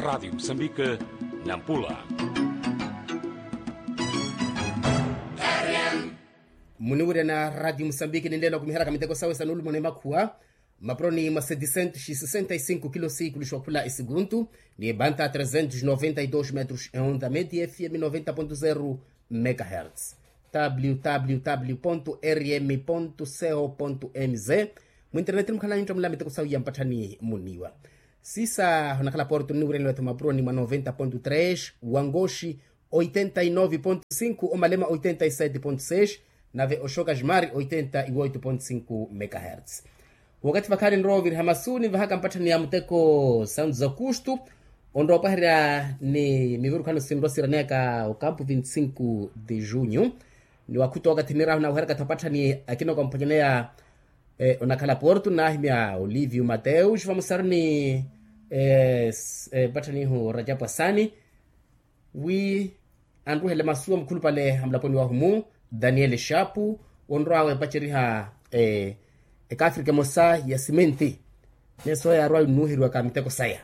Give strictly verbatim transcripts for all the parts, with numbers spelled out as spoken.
Rádio Moçambique, Nampula. Muniwirya na rádio moçambique ninleela okumiheryaka miteko sawe sa nulumoni emakhuwa, mapuroni mwa seticentos e sessenta e cinco kilos siikuluxa okhula esiguntu, ni ebanta trezentos noventa e dos metros ehonta meti fm noventa ponto zero megahertz. Www rm co mz. Mwinternet mukhala nintta mula miteko sawe ya mpatthani muniwa. Sisa onakhala porto nniwireniwa tho mapuroni mwa noventa ponto tres, wangoxi oitenta e nove ponto cinco, omalema oitenta e sete ponto seis, nave oxoka jimari oitenta e oito ponto cinco megahertz. Wakathi vakhaani nrowa oviriha masu ninvahaka mpatthani ya muteko santu za kustu, onrowa opaherya ni mivirukhano sinrowa siraneyaka okampu vinti cinco de junho. Ni wakhuta wakathi nirahu naweheryaka tho mpatthani akina okamphwanyaneya. Onakhala porto nahimya olivio mateus vamusaruni mpatthanihu rajapu asani, wi anruhele masu amukhulupale amulaponi wahumu, daniel shapu, onrwawe epaceriha ekafrika emosa ya simenti. Neso yarwawe nnuheriwaka miteko saya.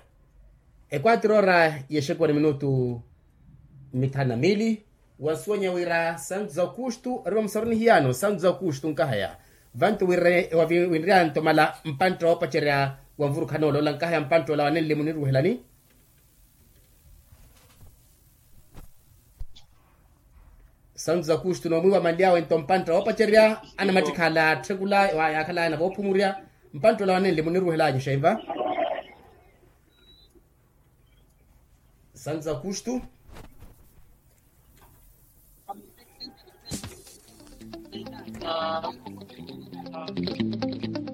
Ekwatira ora yexekuwa ni minutu mithanu na mili. Wansuwanya wira santu za okustu ori vamusaruni hiyano santu za okustu nkahaya. Vantu winryanto mala mpantta woopacerya wa nvurukhanoola ola nkahaya mpantta ola wanenle muniruhelani. Santu za okustu noomwiwa manlyawento mpantta woopacerya anamattikhala atthekula, yaakhalaya na voophumurya. Mpantta ola wanenle muniruhelani xeiva. Santu za okustu.